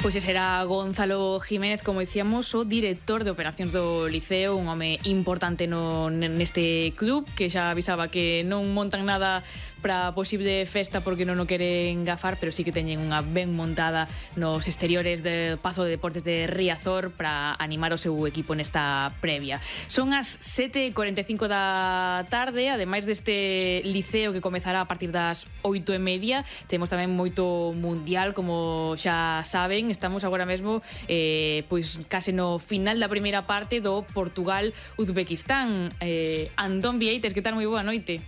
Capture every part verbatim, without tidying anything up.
Pois ese era Gonzalo Jiménez, como dicíamos, o director de operacións do Liceo, un home importante no, neste club, que xa avisaba que non montan nada para posible festa porque non o queren gafar, pero sí que teñen unha ben montada nos exteriores do Pazo de Deportes de Riazor para animar o seu equipo nesta previa. Son as sete e cuarenta e cinco da tarde, ademais deste Liceo que comezará a partir das oito e media, temos tamén moito mundial, como xa saben. Estamos agora mesmo eh, pois case no final da primeira parte do Portugal-Uzbekistán. eh, Antón Vieites, que tal? Moi boa noite.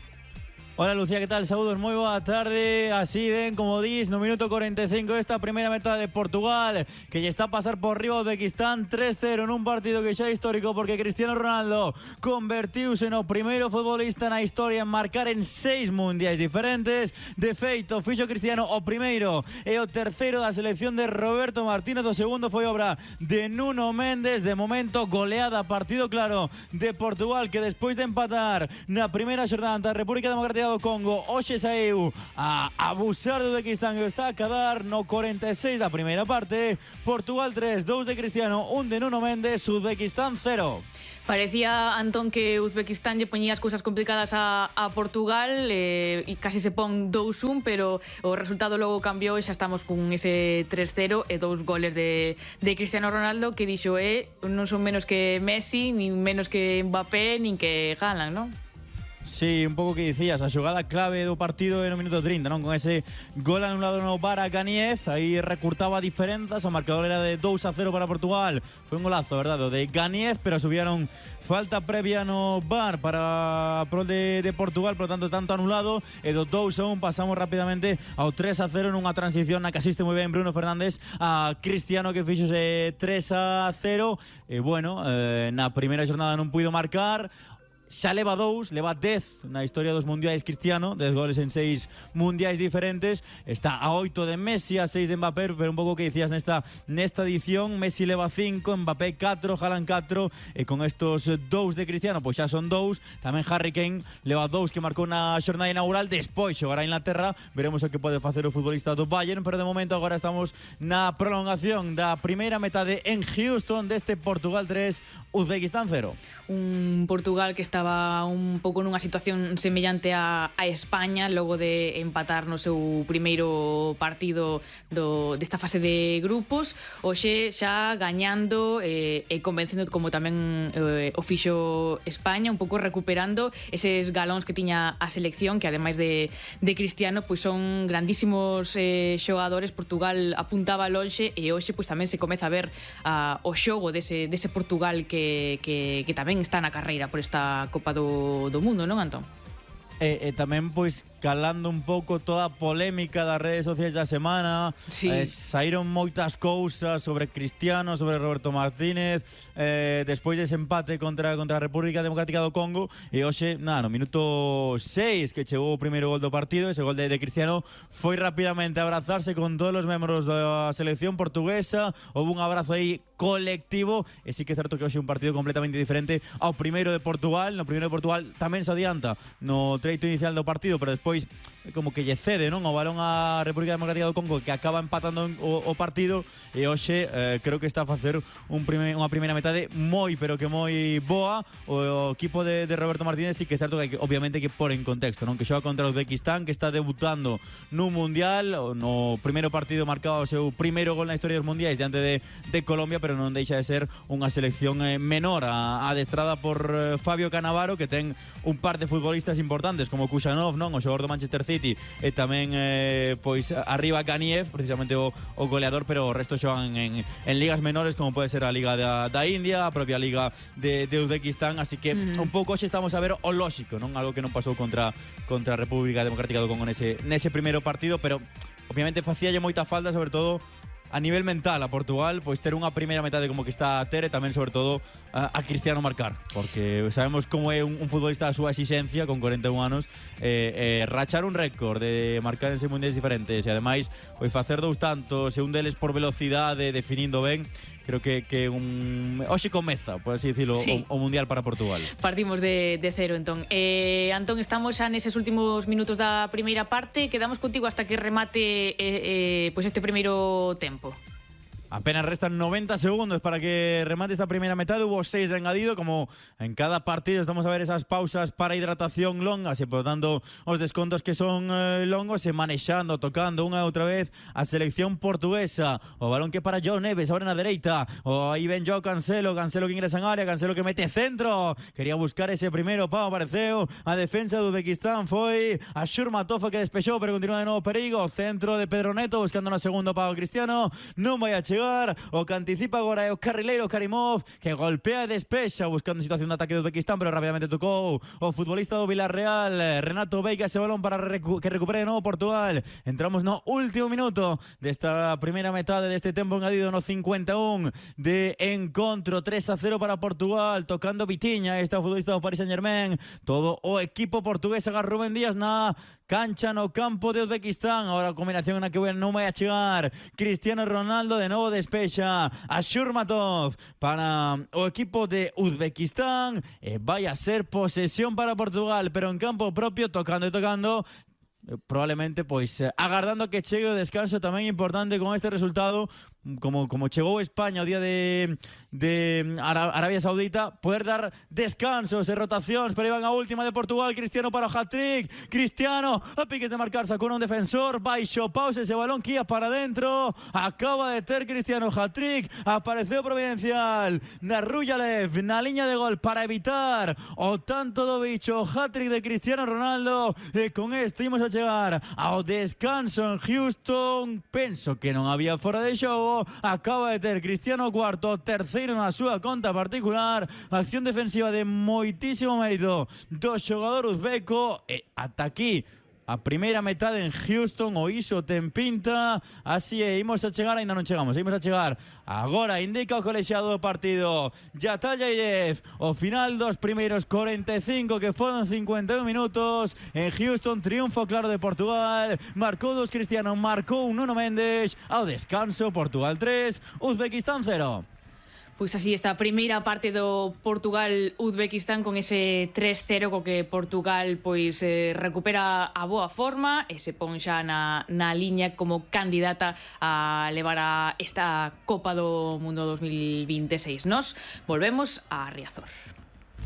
Hola Lucía, ¿qué tal? Saludos, moi boa tarde. Así ven, como dis, no minuto cuarenta e cinco esta primeira metade de Portugal, que lle está a pasar por riba Uzbekistán tres cero nun partido que xa é histórico, porque Cristiano Ronaldo convertiuse no primeiro futbolista na historia en marcar en seis mundiais diferentes. De feito, fixo Cristiano o primeiro e o terceiro da selección de Roberto Martínez. O segundo foi obra de Nuno Méndez. De momento, goleada, partido claro de Portugal, que despois de empatar na primeira xornada ante a República Democrática do Congo, hoxe saíu a abusar do Uzbekistán e está a quedar no cuarenta e seis da primeira parte. Portugal tres, dous de Cristiano, un de Nuno Méndez, Uzbekistán cero. Parecía, Antón, que Uzbekistán lle poñía as cousas complicadas a, a Portugal eh, e casi se pon dous un, pero o resultado logo cambiou e xa estamos con ese tres cero e dous goles de, de Cristiano Ronaldo, que dixo eh, non son menos que Messi, nin menos que Mbappé, nin que Haaland, non? Sí, un pouco que dicías, a xogada clave do partido no minuto trinta, non? Con ese gol anulado no V A R a Ganiev, aí recurtaba diferenzas, o marcador era de dous a cero para Portugal. Foi un golazo, verdade, o de Ganiev, pero subieron falta previa no V A R para pro de, de Portugal, por lo tanto, tanto anulado, e do dous a un pasamos rapidamente ao tres a cero nunha transición na que asiste moi ben Bruno Fernández a Cristiano, que fixose tres a cero, e bueno, eh, na primeira xornada non puido marcar. Xa leva dous, leva dez na historia dos mundiais Cristiano, dez goles en seis mundiais diferentes. Está a oito de Messi, a seis de Mbappé, pero un pouco que dicías nesta nesta edición, Messi leva cinco, Mbappé catro, Haaland catro, e con estos dous de Cristiano, pois xa son dous. Tamén Harry Kane leva dous que marcou na xornada inaugural. Despois xogará a Inglaterra, veremos o que pode facer o futbolista do Bayern, pero de momento agora estamos na prolongación da primeira metade en Houston deste Portugal tres, Uzbekistán cero. Un Portugal que está estaba un pouco nunha situación semellante a, a España logo de empatar no seu primeiro partido do, desta fase de grupos. Hoxe xa gañando eh, e convencendo, como tamén eh, o fixo España, un pouco recuperando eses galóns que tiña a selección, que ademais de, de Cristiano, pois son grandísimos eh, xogadores. Portugal apuntaba lonxe e hoxe pois tamén se comeza a ver uh, o xogo dese, dese Portugal que, que, que tamén está na carreira por esta Copa do, do Mundo, non, Antón? E, e tamén, pois, calando un pouco toda a polémica das redes sociais da semana. Sí. eh, Saíron moitas cousas sobre Cristiano, sobre Roberto Martínez, eh, despois dese empate contra, contra a República Democrática do Congo. E hoxe, nada, no minuto seis que chegou o primeiro gol do partido, ese gol de, de Cristiano, foi rapidamente a abrazarse con todos os membros da selección portuguesa. Houve un abrazo aí colectivo, e sí que é certo que hoxe é un partido completamente diferente ao primeiro de Portugal. No primeiro de Portugal tamén se adianta no treito inicial do partido, pero despois como que lle cede, non, o balón á República Democrática do Congo, que acaba empatando o, o partido. E hoxe eh, creo que está a facer un prime, unha primeira metade moi, pero que moi boa. O, o equipo de, de Roberto Martínez sí que é certo que, obviamente, que por en contexto, non, que xoga contra o Uzbekistán, que está debutando nun mundial. No primeiro partido marcaba o seu primeiro gol na historia dos mundiais diante de, de Colombia, pero non deixa de ser unha selección eh, menor, a, adestrada por eh, Fabio Cannavaro, que ten un par de futbolistas importantes como Kusanov, non, o xogador do Manchester City, e tamén eh, pois arriba Ganiev, precisamente o, o goleador, pero o resto xogan en, en ligas menores, como pode ser a Liga da, da India, a propia Liga de, de Uzbekistán. Así que mm. un pouco hoxe estamos a ver o lóxico, non, algo que non pasou contra contra a República Democrática do Congo nese, nese primeiro partido, pero obviamente facíalle moita falta, sobre todo a nivel mental, a Portugal, pois ter unha primeira metade como que está a ter, e tamén, sobre todo, a, a Cristiano marcar, porque sabemos como é un, un futbolista da súa exigencia con cuarenta e un anos, eh, eh, rachar un récord de marcar en seis mundiais diferentes e ademais pois facer dous tantos, e un deles por velocidade, definindo ben. Creo que, que un hoxe comeza, por así dicilo, sí, o, o Mundial para Portugal. Partimos de, de cero, entón. Eh, Antón, estamos xa neses últimos minutos da primeira parte. Quedamos contigo hasta que remate eh, eh, pois este primeiro tempo. Apenas restan noventa segundos para que remate esta primera metade. Hubo seis de engadido, como en cada partido estamos a ver esas pausas para hidratación longas e, por tanto, os descontos que son eh, longos e manexando, tocando unha e outra vez a selección portuguesa. O balón que para João Neves, ahora na dereita. O aí ven João Cancelo, Cancelo que ingresa en área, Cancelo que mete centro. Quería buscar ese primeiro pau, apareceu a defensa do Uzbequistán, foi a Shurmatov que despexou, pero continúa de novo perigo. Centro de Pedro Neto, buscando na segunda pau Cristiano, non vai a chegar. O que anticipa agora é o carrileiro Karimov, que golpea e despexa buscando situación de ataque do Uzbequistán, pero rápidamente tocou o futbolista do Villarreal, Renato Veiga, ese balón para recu que recupere de novo Portugal. Entramos no último minuto desta primeira metade deste tempo engadido, no cincuenta e un de encontro. Tres a cero para Portugal, tocando Vitiña, este futbolista do Paris Saint-Germain. Todo o equipo portugués agarra Rubén Díaz na cancha no campo de Uzbequistán. Ahora a combinación na que non vai a chegar Cristiano Ronaldo, de novo despexa a Shurmatov para o equipo de Uzbequistán e vai a ser posesión para Portugal, pero en campo propio, tocando e tocando, probablemente pois agardando que chegue o descanso. Tamén importante con este resultado, como, como chegou España o día de, de Arabia Saudita, poder dar descansos e rotacións. Pero iban a última de Portugal, Cristiano para o hat-trick, Cristiano a piques de marcar, sacou un defensor, baixo pausa ese balón que ia para dentro, acaba de ter Cristiano hat-trick, apareceu Providencial na Ruyalev, na liña de gol para evitar o tanto do bicho. Hat-trick de Cristiano Ronaldo, e con este imos a chegar ao descanso en Houston. Penso que non había fora de xogo. Acaba de ter Cristiano cuarto, terceiro na súa conta particular. Acción defensiva de moitísimo mérito do xogador uzbeco, e ata aquí a primeira metade en Houston. O iso ten pinta. Así é, imos a chegar, ainda non chegamos, imos a chegar agora, indica o colexiado do partido Yatayayev. O final dos primeiros cuarenta e cinco, que foron cincuenta e un minutos en Houston. Triunfo claro de Portugal, marcou dos Cristiano, marcou un Nuno Mendes. Ao descanso, Portugal tres, Uzbequistán cero. Pois así esta primeira parte do Portugal-Uzbequistán, con ese tres cero co que Portugal pois eh, recupera a boa forma e se pon xa na, na liña como candidata a levar a esta Copa do Mundo dos mil vinte e seis. Nos volvemos a Riazor.